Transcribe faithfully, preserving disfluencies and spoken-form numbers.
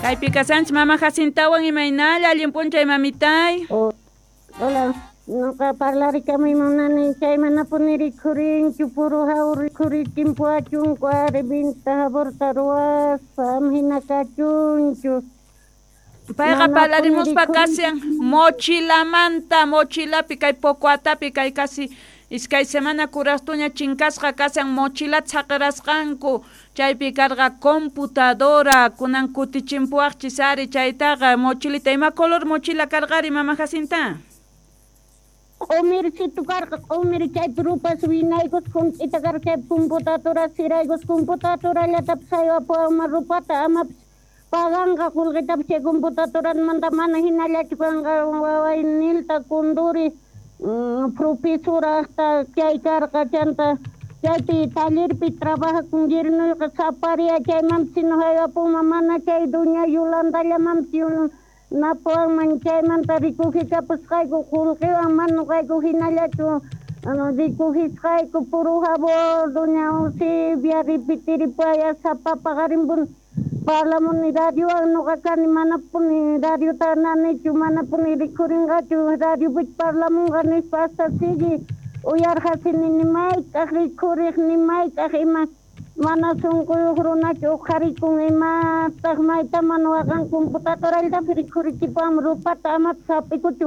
Kaypi kasanchis mama Jacintawan imaynalla allin p'unchay mamitay. Oh, hola, noqa parlarikamuy munani chay manapuni rikhurinchu puro haw rikhurichimpuwachunku ari vinta jaborta ruwaspa ama hina kachunchu. Payqa Manapuni parlarimuspa rikhurin kashan mochilamanta, mochilapi kay Pocoatapi kay casi iskay semana kurastuña chinkasqa kashan mochilata saqirasqanku chaypi karqa computadora kunan kutichimpuwaqchis ari chaytaqa mochilita ima color mochila karqari mama Jacinta? Q'umircitu karqa q'umir chaypi rupas winaykus junt'ita karqa chaypi computadora siraykus computadorallatapis haywapuwanman rupata amapis paganqa qullqitapis chay computadoramanta mana hinallachu kanqa waway Nilta Condori mm, profesorajta chay karqa chanta chaypi tallerpi trabajakun yernuyqa saparia chaymanpis sino haywapunman mana chay doña Yolandallamanpis napuwanman chaymanta rikujikapusqayku qullqiwan mana nuqayku hinallachu rikujisqayku puro jabón doña Eusebia repetiripuway sapa paqarinpuni parlamuni radiowan nuqa kani manapuni radiota nanichu manapuni rikhurinqachu radiopichu parlamunqa nispa hasta sigue uyarqasini ni mayk'aq rikhuriq ni mayk'aq ima mana sunquyuq runachu uqharikun imataq mayta mana waqan computadorallatapis rikhurichipuwan rupata amapis hap'ikuchu.